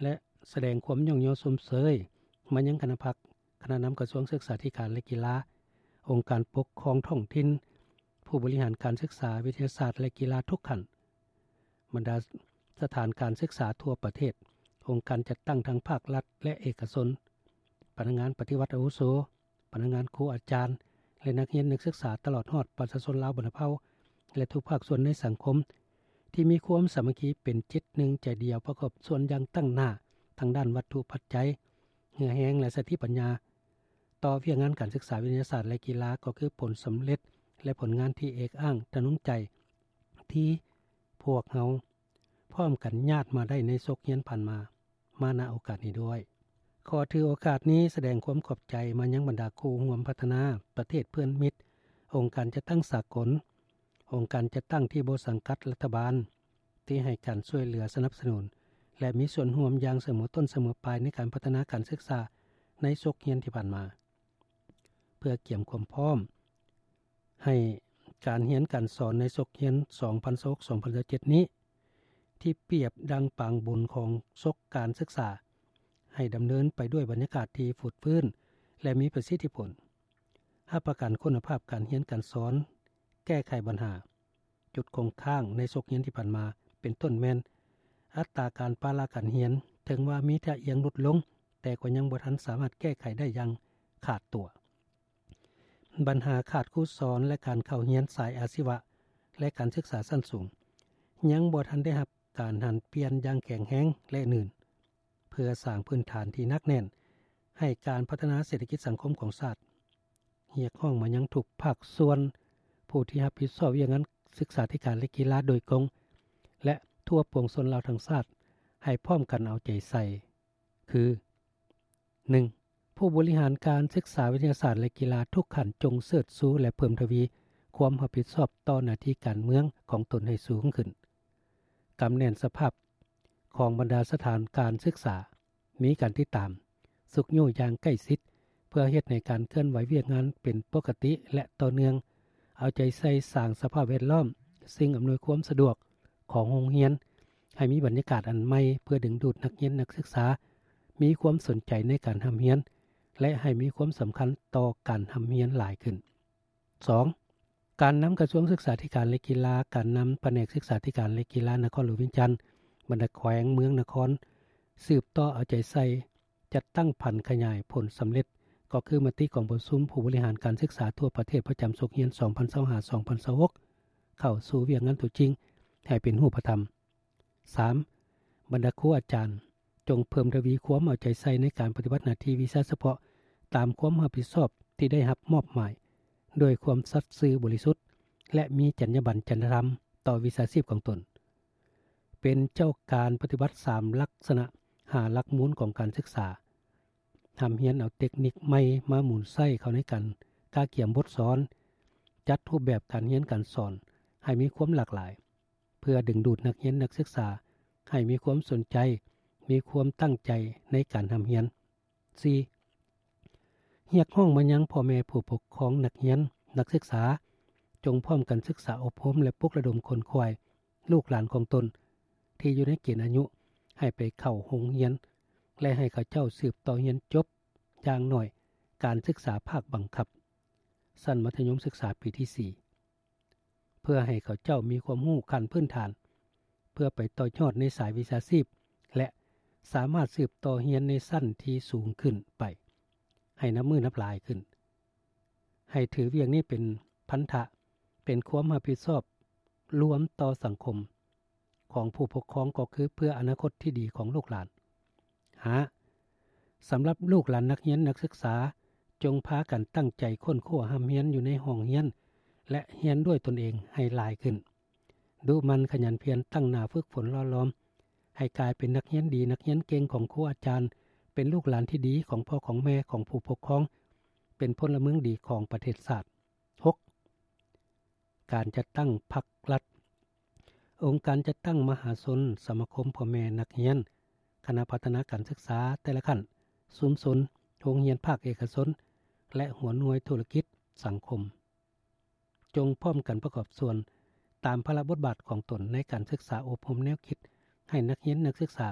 ແລະ ສະແດງຄວາມຍ້ອງຍໍຊົມເຊີຍມາຍັງຄະນະພັກ, ຄະນະນຳກະຊວງສຶກສາທິການ ແລະ ກິລາ, ອົງການປົກຄອງທ້ອງຖິ່ນ, ຜູ້ບໍລິຫານການສຶກສາວິທະຍາສາດ ແລະ ກິລາທຸກຂັ້ນ, ບັນດາສະຖານການສຶກສາທົ່ວປະເທດ, ອົງການຈັດຕັ້ງທັງພາກລັດ ແລະ ເອກະຊົນ, ພະນັກງານປະຕິວັດອາວຸໂສ, ພະນັກງານ, ຄູອາຈານ ແລະ ນັກຮຽນນັກສຶກສາ, ຕະຫຼອດຮອດປະຊາຊົນລາວບັນດາເຜົ່າ ແລະ ທຸກພາກສ່ວນໃນສັງຄົມ ທີ່ມີຄວາມສາມັກຄີເປັນຈິດໜຶ່ງໃຈດຽວ, ປະກອບສ່ວນຢ່າງຕັ້ງໜ້າທາງດ້ານວັດຖຸປັດໄຈ, ເຫື່ອແຮງ ແລະ ສະຕິປັນຍາ ຕໍ່ວຽກງານການສຶກສາວິທະຍາສາດ ແລະ ກິລາ ກໍຄືຜົນສຳເລັດ ແລະ ຜົນງານທີ່ເອກອ້າງທະນົງໃຈ ທີ່ພວກເຮົາພ້ອມກັນຍາດມາໄດ້ໃນສົກຮຽນຜ່ານມາ, ມາ ນະ ໂອກາດນີ້ດ້ວຍ. ຂໍຖືໂອກາດນີ້ສະແດງຄວາມຂອບໃຈມາຍັງບັນດາຄູ່ຮ່ວມພັດທະນາປະເທດເພື່ອນມິດ, ອົງການຈັດຕັ້ງສາກົນ, ອົງການຈັດຕັ້ງທີ່ບໍ່ສັງກັດລັດຖະບານ ທີ່ໃຫ້ການຊ່ວຍເຫຼືອສະໜັບສະໜູນ ແລະ ມີສ່ວນຮ່ວມຢ່າງສະເໝີຕົ້ນສະເໝີປາຍໃນການພັດທະນາການສຶກສາໃນສົກຮຽນທີ່ຜ່ານມາ. ເພື່ອກຽມຄວາມພ້ອມໃຫ້ການຮຽນການສອນໃນສົກຮຽນສອງພັນຊາວຫົກ ສອງພັນຊາວເຈັດນີ້ ທີ່ປຽບດັ່ງປາງບຸນຂອງສົກການສຶກສາ ໃຫ້ດຳເນີນໄປດ້ວຍບັນຍາກາດທີ່ຟົດຟື້ນ ແລະ ມີປະສິດທິຜົນ, ຮັບປະກັນຄຸນນະພາບການຮຽນການສອນ, ແກ້ໄຂບັນຫາ, ຈຸດຄົງຄ້າງໃນສົກຮຽນທີ່ຜ່ານມາ ເປັນຕົ້ນແມ່ນ ອັດຕາການປະລະການຮຽນ, ເຖິງວ່າມີທ່າອ່ຽງຫຼຸດລົງ, ແຕ່ກໍຍັງບໍ່ທັນສາມາດແກ້ໄຂໄດ້ຢ່າງຂາດຕົວ. ບັນຫາຂາດຄູສອນ ແລະ ການເຂົ້າຮຽນສາຍອາຊີວະ ແລະ ການສຶກສາຊັ້ນສູງ ຍັງບໍ່ທັນໄດ້ຮັບການຫັນປ່ຽນຢ່າງແຂງແຮງ ແລະ ໜືນ ເພື່ອສ້າງພື້ນຖານທີ່ໜັກແໜ້ນໃຫ້ການພັດທະນາເສດຖະກິດສັງຄົມຂອງຊາດ. ຮຽກຮ້ອງມາຍັງທຸກພາກສ່ວນ ຜູ້ທີ່ຮັບຜິດຊອບວຽກງານສຶກສາທິການ ແລະ ກິລາໂດຍກົງ ແລະ ທົ່ວປວງຊົນລາວທັງຊາດ ໃຫ້ພ້ອມກັນເອົາໃຈໃສ່ ຄື: ໜຶ່ງ ຜູ້ບໍລິຫານການສຶກສາວິທະຍາສາດ ແລະ ກິລາທຸກຂັ້ນ ຈົ່ງເຊີດຊູ ແລະ ເພີ່ມທະວີຄວາມຮັບຜິດຊອບຕໍ່ໜ້າທີ່ການເມືອງຂອງຕົນໃຫ້ສູງຂຶ້ນ, ກຳແໜ້ນສະພາບຂອງບັນດາສະຖານການສຶກສາ, ມີການຕິດຕາມ, ຊຸກຍູ້ຢ່າງໃກ້ຊິດ ເພື່ອເຮັດໃຫ້ການເຄື່ອນໄຫວວຽກງານເປັນປົກກະຕິ ແລະ ຕໍ່ເນື່ອງ, ເອົາໃຈໃສ່ສ້າງສະພາບແວດລ້ອມ, ສິ່ງອຳນວຍຄວາມສະດວກຂອງໂຮງຮຽນ ໃຫ້ມີບັນຍາກາດອັນໃໝ່ ເພື່ອດຶງດູດນັກຮຽນນັກສຶກສາ ມີຄວາມສົນໃຈໃນການຮ່ຳຮຽນ ແລະ ໃຫ້ມີຄວາມສຳຄັນຕໍ່ການຮ່ຳຮຽນຫຼາຍຂຶ້ນ. ສອງ ການນຳກະຊວງສຶກສາທິການ ແລະ ກິລາ, ການນຳພະແນກສຶກສາທິການ ແລະ ກິລານະຄອນຫຼວງວຽງຈັນ, ບັນດາແຂວງເມືອງນະຄອນ ສືບຕໍ່ເອົາໃຈໃສ່ ຈັດຕັ້ງຜັນຂະຫຍາຍຜົນສຳເລັດ ກໍຄືມະຕິກອງປະຊຸມຜູ້ບໍລິຫານການສຶກສາທົ່ວປະເທດປະຈຳສົກຮຽນສອງພັນຊາວຫ້າ ສອງພັນຊາວຫົກ ເຂົ້າສູ່ວຽກງານຕົວຈິງໃຫ້ເປັນຮູບປະທຳ. ສາມ ບັນດາຄູອາຈານ ຈົ່ງເພີ່ມທະວີຄວາມເອົາໃຈໃສ່ໃນການປະຕິບັດໜ້າທີ່ວິຊາສະເພາະຕາມຄວາມຮັບຜິດຊອບທີ່ໄດ້ຮັບມອບໝາຍ ດ້ວຍຄວາມສັດຊື່ບໍລິສຸດ ແລະ ມີຈັນຍາບັນຈັນທະທຳຕໍ່ວິຊາຊີບຂອງຕົນ. ເປັນເຈົ້າການປະຕິບັດສາມລັກສະນະ ຫ້າຫຼັກມູນຂອງການສຶກສາ, ຮ່ຳຮຽນເອົາເຕັກນິກໃໝ່ມາໝູນໃຊ້ເຂົ້າໃນການກະກຽມບົດສອນ, ຈັດຮູບແບບການຮຽນການສອນໃຫ້ມີຄວາມຫຼາກຫຼາຍ ເພື່ອດຶງດູດນັກຮຽນນັກສຶກສາໃຫ້ມີຄວາມສົນໃຈ, ມີຄວາມຕັ້ງໃຈໃນການຮ່ຳຮຽນ. ສີ່ ຮຽກຮ້ອງມາຍັງພໍ່ແມ່ຜູ້ປົກຄອງນັກຮຽນນັກສຶກສາ ຈົ່ງພ້ອມກັນສຶກສາອົບຮົມ ແລະ ປຸກລະດົມຂົນຂວາຍລູກຫຼານຂອງຕົນ ທີ່ຢູ່ໃນເກນອາຍຸໃຫ້ໄປເຂົ້າໂຮງຮຽນ ແລະ ໃຫ້ເຂົາເຈົ້າສືບຕໍ່ຮຽນຈົບ ຢ່າງໜ້ອຍການສຶກສາພາກບັງຄັບ ຊັ້ນມັດທະຍົມສຶກສາປີທີສີ່ ເພື່ອໃຫ້ເຂົາເຈົ້າມີຄວາມຮູ້ຂັ້ນພື້ນຖານ ເພື່ອໄປຕໍ່ຍອດໃນສາຍວິຊາຊີບ ແລະ ສາມາດສືບຕໍ່ຮຽນໃນຊັ້ນທີ່ສູງຂຶ້ນໄປ ໃຫ້ນັບມື້ນັບຫຼາຍຂຶ້ນ. ໃຫ້ຖືວຽກນີ້ເປັນພັນທະ, ເປັນຄວາມຮັບຜິດຊອບລວມຕໍ່ສັງຄົມຂອງຜູ້ປົກຄອງ ກໍຄືເພື່ອອະນາຄົດທີ່ດີຂອງລູກຫຼານ. ຫ້າ ສຳລັບລູກຫຼານນັກຮຽນນັກສຶກສາ, ຈົ່ງພາກັນຕັ້ງໃຈຄົ້ນຄວ້າຮ່ຳຮຽນຢູ່ໃນຫ້ອງຮຽນ ແລະ ຮຽນດ້ວຍຕົນເອງໃຫ້ຫຼາຍຂຶ້ນ. ດຸໝັ່ນຂະຫຍັນພຽນ, ຕັ້ງໜ້າຝຶກຝົນຫຼໍ່ຫຼອມໃຫ້ກາຍເປັນນັກຮຽນດີ, ນັກຮຽນເກັ່ງຂອງຄູອາຈານ, ເປັນລູກຫຼານທີ່ດີຂອງພໍ່ຂອງແມ່, ຂອງຜູ້ປົກຄອງ, ເປັນພົນລະເມືອງດີຂອງປະເທດຊາດ. ຫົກ ການຈັດຕັ້ງພັກລັດ, ອົງການຈັດຕັ້ງມະຫາຊົນ, ສະມາຄົມພໍ່ແມ່ນັກຮຽນ, ຄະນະພັດທະນາການສຶກສາແຕ່ລະຂັ້ນ, ຊຸມຊົນ, ໂຮງຮຽນພາກເອກະຊົນ ແລະ ຫົວໜ່ວຍທຸລະກິດສັງຄົມ ຈົ່ງພ້ອມກັນປະກອບສ່ວນຕາມພາລະບົດບາດຂອງຕົນໃນການສຶກສາອົບຮົມແນວຄິດໃຫ້ນັກຮຽນນັກສຶກສາ.